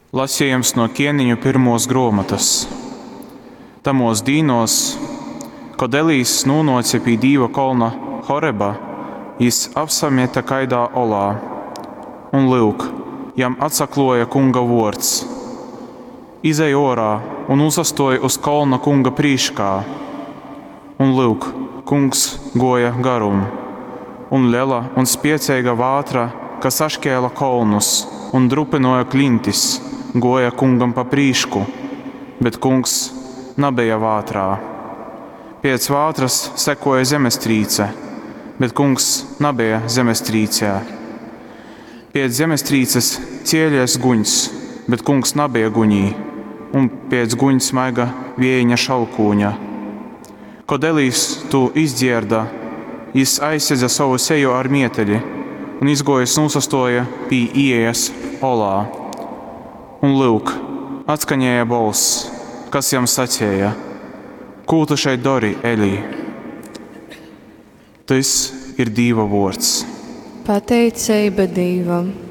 Lasejums no Kieneņu pyrmuos gruomotys. Tamuos dīnuos, kod Elijs nūnuoce pī Dīva kolna Horeba, jis apsamete kaidā olā. Un, lyuk, jam atsakluoja Kunga vuords, Izej uorā un nūsastuoj uz kolna Kunga prīškā! Un, lyuk, Kungs guoja garum, un lela un spieceiga vātra, kas saškēla kolnus un drupynuoja klintis, guoja Kungam pa prīšku, bet Kungs nabeja vātrā. Piec vātrys sekuoja zemestrīce, bet Kungs nabeja zemestrīcē. Piec zemestrīces cielies guņs, bet Kungs nabeja guņī, un piec guņs maiga viejeņa šalkūņa. Kod Elijs tū izdzierda, jis aizsedze sovu seju ar mieteļi un izguojis nūsastuoja pī iejas olā. Un, lyuk, atskaņēja bolss, kas jam saceja: Kū tu šeit dori, Elij? Tys ir Dīva vuords. Pateiceiba Dīvam.